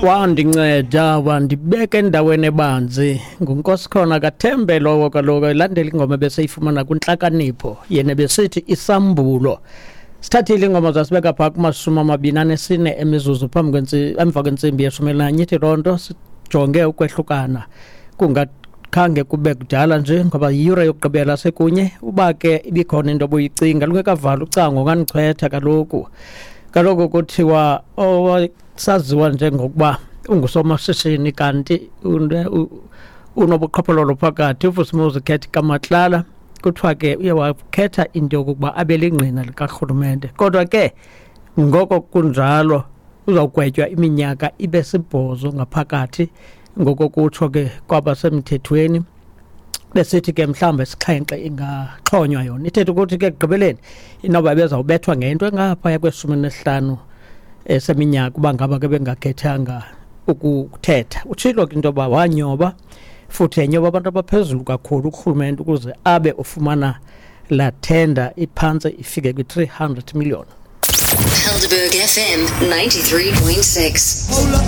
Wandinceda wandibeka endaweni ebanzi, nguNkosikhona Kathembe lowo. Kaloku elandela ingoma ebeseyifumana kwintlakanipho, yena besithi isambulo. Sithathile ingoma zasibeka phaa kuma-24 emizuzu phambi emva kwentsimbi ye-11. Ithi loo nto sijonge ukwehlukana kungakhange kube kudala nje, ngoba yiyure yokugqibela sekunye. Uba ke ibikhona into obuyicinga, lungekavalwa ucango, ungandichwetha. Kaloku kuthiwa owasaziwa njengokuba ungusomashishini kanti unobuqhophololo phakathi, uVusimuzi Cat Kamatlala, kuthiwa ke uye wakhetha into yokokuba abe lingqina likarhulumente, kodwa ke ngoko kunjalo uzawugwetywa iminyaka ibe 8 ngaphakathi, ngokokutsho ke kwabasemthethweni. Besithi ke mhlawumbe 7 ingaxhonywa yona, ithetha ukuthi ke ekugqibeleni inoba bezawubethwa ngento engaphaya kwe-15 seminyaka uba ngaba ke bengakhethanga ukuthetha. Utshilo ke into yoba wanyoba futhi enyoba abantu abaphezulu kakhulu kurhulumente ukuze abe ufumana laa tender iphantse ifike kwi-300 million. Helderberg FM 93.6.